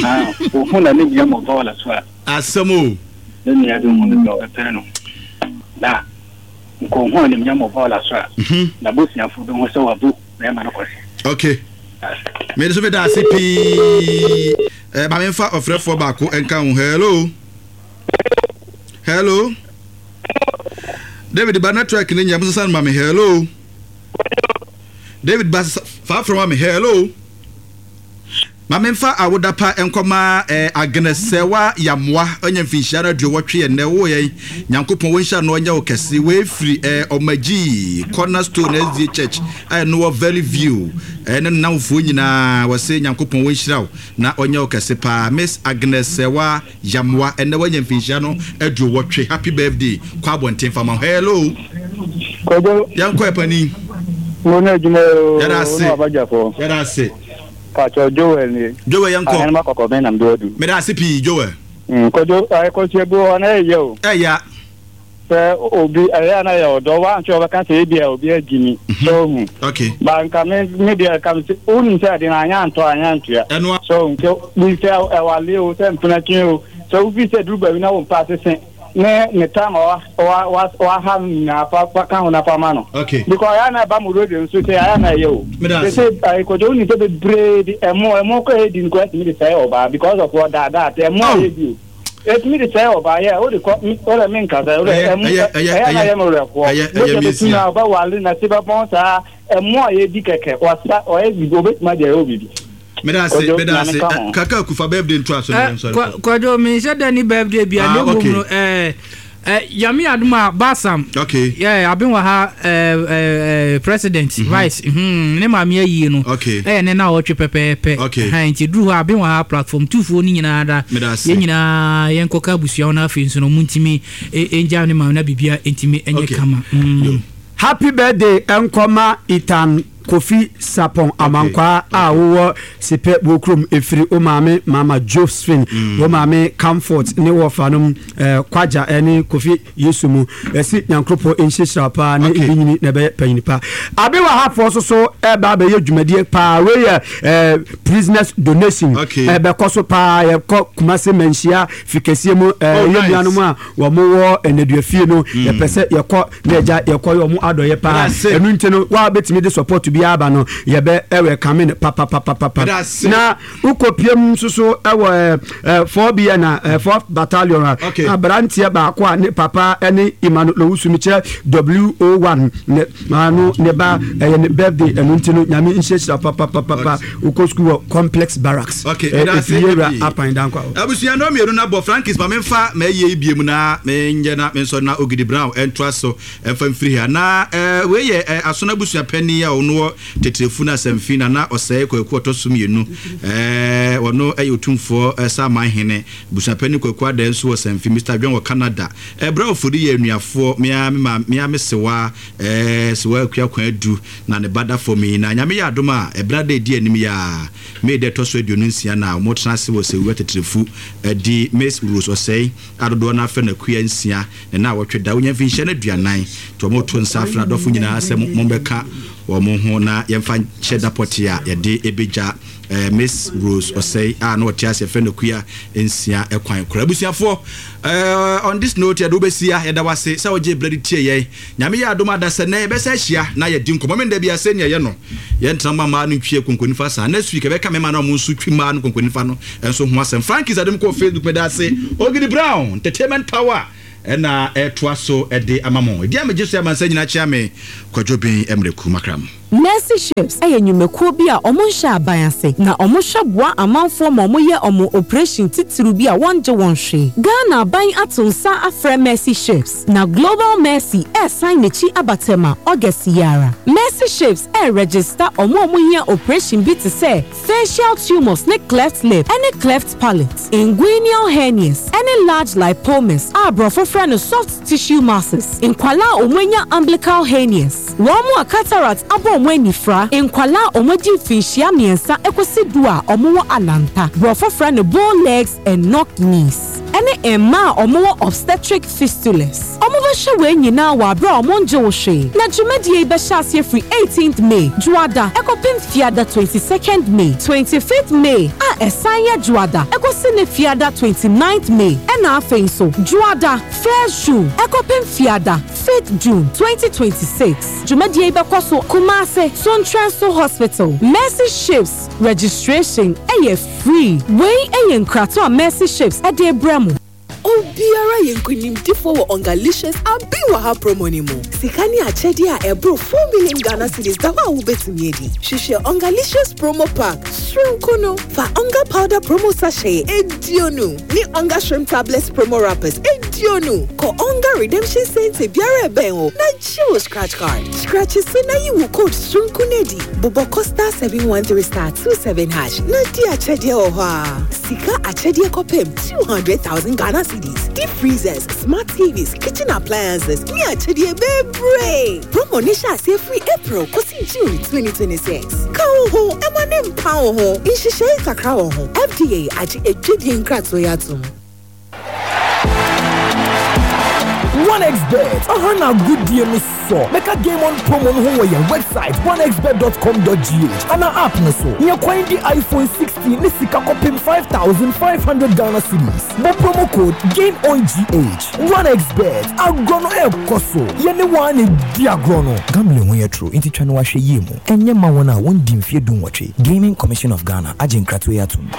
Ah, ohu na ne nua mɔ bɔɔla so a. Asɛm o. Ne nua bi hu no sɛ ɔbɛpere no. Na nka ohu animuonyam wɔ bɔɔla so a, n'abusuafo bɛhu sɛ wabu bɛrima no kɔse. Okay. Me nso meda ase pii. Eh, ma memfa ɔfrɛfoɔ baako nka ho. Hello. Hello. David ba network ne nyɛ mo sesa no ma me. Hello. David ba fa frɛ ma me. Hello. Ma memfa awoda pa nkɔma eh, Agnes Sɛwa Yamoa ɔnya mfinhyia no aduowɔtwe ɛnnɛ wo yɛn Nyankopɔn wɔnhyira no ɔnyɛ wo kɛse wei firi eh, Ɔmagyi Cornerstone SDA Church a ɛno wɔ Valley View eh, ne nnamfoɔ nyinaa wɔse Nyankopɔn wɔnhyira wo na ɔnyɛ wo kɛse paa Miss Agnes Sɛwa Yamoa ɛnɛ wanya mfinhyia no aduowɔtwe happy birthday kɔ abɔnten fa ma hello. Kwadwo. Yɛn kɔ ɛpanin. Mo ne adwuma oo. Yɛda ase. Ne wabadwafoɔ. Yɛda ase. Pakyɛ Joel nie. Joel yɛn kɔ. Ahenema kɔkɔbɛn na mede wadu. Meda ase pii Joel. Kwadwo akosua bi wɔ hɔ na ɛyɛ o. Ɛya. Sɛ obi ɛyɛ a na yɛ ɔdɔ wanhwɛ ɔbɛka sɛ ebi a obi agyi mi. Sɛ ohu. Okay. Ba nka me me deɛ nka me sɛ wonim sɛ ade no anyɛ antɔ anyɛ antua. Ɛnoa. Sɛ ohu sɛ bi sɛ ɛwale o sɛ mpena twe o sɛ wofi sɛ duru baabi na wo mpa asese ne ne time a wa wa wa waha no nyinaa fa fa ka ho na fa ma no. Okay. Because ɛyɛ a na ɛba mo radio nso sɛ ɛyɛ a na ɛyɛ o. Meda Sɛ ase. sɛ ɛɛ kɔjɔ wonim sɛ bebree de ɛmo ɛmo kɔ ɛdi no kɔ ɛtumi de sɛe ɔbaa because of ɔdaadaa sɛ ɛmo a Oh. yɛdi o. Ɛtumi de sɛe ɔbaa yɛ wode kɔ wode me nkasa wode Ɛyɛ ɛmo ɛyɛ ɛyɛ ɛyɛ na ɛyɛ yɛ me werɛfoɔ ɛyɛ ɛyɛ mogya bɛtu mesia. no a ɔbɛwale na se bɛbɔn saa ɛmo a yɛdi kɛkɛ wasa ɔyɛ biribi ɔbɛtumi ade ayɛ biribi. Meda ase Kwadwo meda nyame ase nka ho. Kaka Kufa birthday nto aso na Eh, yɛn sɔre kwa, kɔ. kwadwo menhyɛ da ni birthday bia Ah na mmom okay. no eh, eh, Nyame adom a Basam Okay. yeah, aben wɔ ha eh, eh, eh, president mm -hmm. vice mm -hmm, ne maame ayie no okay. ɛyɛ ne na ɔtwe pɛpɛɛpɛ okay. ha nti duru hɔ aben wɔ ha platform tufoɔ no nyinaa da yɛn nyinaa yɛnkɔka abusua no afei nso no ɔmo ntumi ɛngya ne maame na biribia ntumi ɛnyɛ okay. kama mm. Happy birthday nkɔma Ethan Kofi Sarpong Amankwaa a wowɔ Sepɛ Buokurom ɛfiri wo maame Mama Josephine, wo maame Comfort ne wɔfanom Kwagya ne Kofi Yesu mu. Yɛse Nyankoropɔn nhyirahyira wo paa ne ebi nyini na ɛbɛyɛ panyini pa. Abewa ha foɔ nso so ɛba abɛyɛ dwumadie paa. Wei yɛ prisoners donation. Ɛbɛkɔ so paa. Yɛkɔ Kumasi Manhyia fikɛseɛ mu. Oh, Yɛ nuanom a wɔn wɔ nneduafie no yɛpɛ sɛ yɛkɔ na agya yɛkɔ yɛ ɔmo adɔyɛ paa ɛnu nti no wa bɛtumi de support biara ba no yɛbɛ ɛwɛ kame no papapapapa na wokɔ piem nso so ɛwɔ ɛɛ 4bn a ɛɛ 4 battalion a aberanteɛ baako a ne papa ɛne Emmanuel Owusu mi kyerɛ WO1 ne maano ne ba ɛyɛ ne birthday ɛnu nti no nyame nhyirahyira papapapapa wokɔ sukuu wɔ complex barracks ɛfiri yɛwura apan dankwa hɔ. Abusua no mmienu na bɔ Frankis ma memfa m'ayie yi biem na menyɛ na mensɔre na Ogidi Brown ntoa so mfa mfiri ha. Na wei yɛ Asono abusua panin a ɔno wɔ Teterefu no Asɛmfi Nana Ɔsɛe Kwaku ɔtɔ so mmienu. Ɔno yɛ Otumfoɔ Saman Hene. Abusua panin Kwaku Adaa nso wɔ Samfi. Mister Dwɛn wɔ Canada. Berɛ a Ofori yɛ anuafoɔ, me ara me maame, me ara me sewaa, Sewaa Akua Kwadu na ne ba da fam yi. Na Nyame yɛ adom a, ɛberɛ a da ɛdi anim yi ara, May da ɛtɔ so 26 na wɔtena ase wɔ Sewua Titirifu di Miss Rose Osei a dodoɔ no ara frɛ no Akua Nsia ne naawɔtwe da. Wɔnya mfinhyia no 40 nti wɔreto nsa afrɛ adɔfo nyinaa sɛ mommɛka wɔn ho na yɛmfa nhyɛ da pɔtee a yɛde ɛbɛgya Miss Rose Osei a na ɔte ase yɛfrɛ no Akua Nsia kwan kora. Abusuafoɔ, on this note yɛde wo bɛsi ha, yɛda wo ase sɛ wogyee berɛ de tie yɛn. Nyame yɛ adom a dasɛ nnɛ yɛbɛsan ahyia na yɛadi nkɔmmɔ. Menda biara sɛnea ɛyɛ no yɛntena mma mmaa no ntwi yɛn konkonifa saa. Next week yɛbɛka mmarima no a wɔn nso twi mmaa no konkonifa no nso ho asɛm. Frankis Adom kɔɔ Facebook meda ase. Ogidi Brown, Entertainment Power ɛna ɛtoa so de ama mo. Ɛdi a megye so yɛ amansan nyinaa kyea me Kwadwo Ben Mmerɛku Makram. Mercy Ships yɛ nnwumakuo bi a wɔn nhyɛ aban ase na wɔn hwɛ boa amanfoɔ ma wɔn yɛ wɔn oprehyɛn titiriw bi a wɔn gye wɔn hwee. Ghana aban ato nsa afrɛ Mercy Ships na Global Mercy ɛresan n'akyi aba Tema August yi ara. Mercy Ships ɛreregister wɔn a wɔn hia oprehyɛn bi te sɛ facial tumours ne cleft lip ne cleft palate, inguinal hernias ne large lipomas a aborɔfo frɛ no soft tissue masses, nkwadaa a wɔanya umbilical hernias, wɔn a cataract abɔ wɔn anifira, nkwadaa a wɔadi mfinhyia mmiɛnsa kɔsi du a wɔwɔ alanta, borɔfo frɛ no bow legs and knock knees, ne mmaa a wɔwɔ obstetric fistulas. Wɔbɛhwɛ wei nyinaa wɔ aberɛ a wɔngye wo hwee. Na dwumadie yi bɛhyɛ aseɛ firi eighteenth May, Dwoada, kɔpem Fiada twenty second May, twenty fifth May a ɛsan yɛ Dwoada kɔsi ne Fiada twenty ninth May, ɛna afei nso Dwoada first June kɔpem Fiada fifth June, 2026. Dwumadie yi bɛkɔ so Kumase, Sontrɛnso Hospital. Mercy Ships registration yɛ free. Wei yɛ nkratoɔ a Mercy Ships de rebrɛ mo. Obiara yɛ nkonimdifoɔ wɔ Ongalicious Abi Wɔ Ha promo no mu. Sika ne akyɛdeɛ a ɛboro 4 million Ghana cedis da hɔ a wobɛtumi adi. Hwehwɛ Ongalicious promo pack soronko no. Fa Onga powder promo sachet 20 ne Onga shrimp tablets promo wrappers 20 kɔ Onga redemption centre biara a ɛbɛn wo na gye wo scratch card. Scratch so na yi wo code soronko no adi. Bobɔ kɔ *713 *27 hash na di akyɛdeɛ wɔ hɔ ara. Sika akyɛdeɛ kɔpem 200,000 Ghana cedis, deep freezers, smart TVs, kitchen appliances ne akyɛdeɛ bebree. Promo no hyɛ aseɛ firi April kɔsi June 2026. Ka wo ho ma no mpa wo ho. Nhyehyɛe kakra wɔ ho. FDA agye adwadie nkratoɔ yi atom. OneXBet, aha na agodie no sɔ. Bɛka Game On promo no ho wɔ yɛn website onexbet.com.gh anaa app no so. Nya kwan di iPhone 16 ne sika kɔpem 5,500 Ghana cedis. Bɔ promo code GAMEONGH. OneXBet, agorɔ no ɛrekɔ so. Yɛne wo ara na ɛdi agorɔ no. Gambling ho yɛ toro nti twa no ahwɛ yie mu. Ɛnyɛ mma wɔn a wɔndi mfeɛ dunwɔtwe. Gaming Commission of Ghana agye nkratoɔ yi atom.